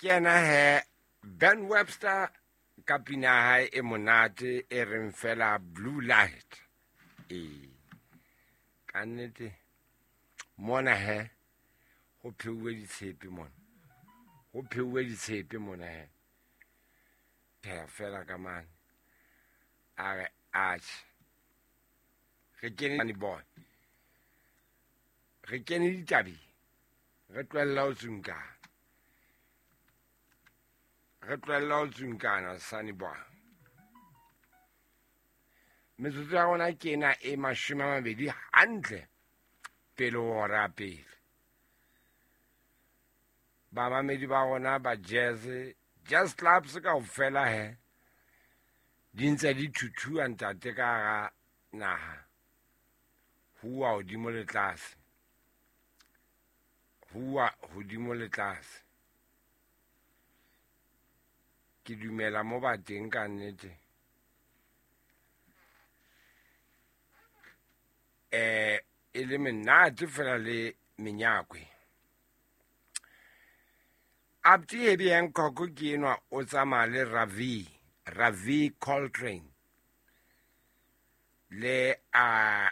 Ke yena he Ben Webster ka pina ya hae e monate e reng fela Blue Light. Ee, ka nnete mona he ho pheuwe ditshepe mona, ho pheuwe ditshepe mona he. Pheha fela ka mane a re atjhe, re kene boy, re kene ditabeng, re tlohella ho tsunkana, re tlohella ho tsunkana Sunny Boy. Metsotso ya rona ke ena e 20 hantle pele ho hora ya pele. Bamamedi ba rona ba jazz, jazz clubs kaofela he di ntse di thuthua ntate ka hara naha, huwa hodimo le tlase, huwa hodimo le tlase. Ke dumela mo ba teng ka nnete. E le menate fela le menyakwe. Abdi Herbie Hancock ke enwa o tsamaya le Ravi, Ravi Coltrane le a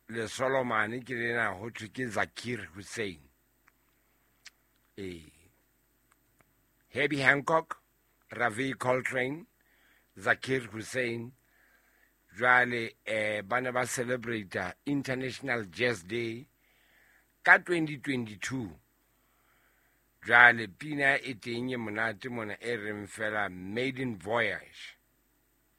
le Solomon ke lena ho thwe ke Zakir Hussain. Herbie Hancock, Ravi Coltrane, Zakir Hussain jwale ba ne ba celebrate International Jazz Day ka 2022. Jwale pina e teng e monate mona e reng fela Maiden Voyage.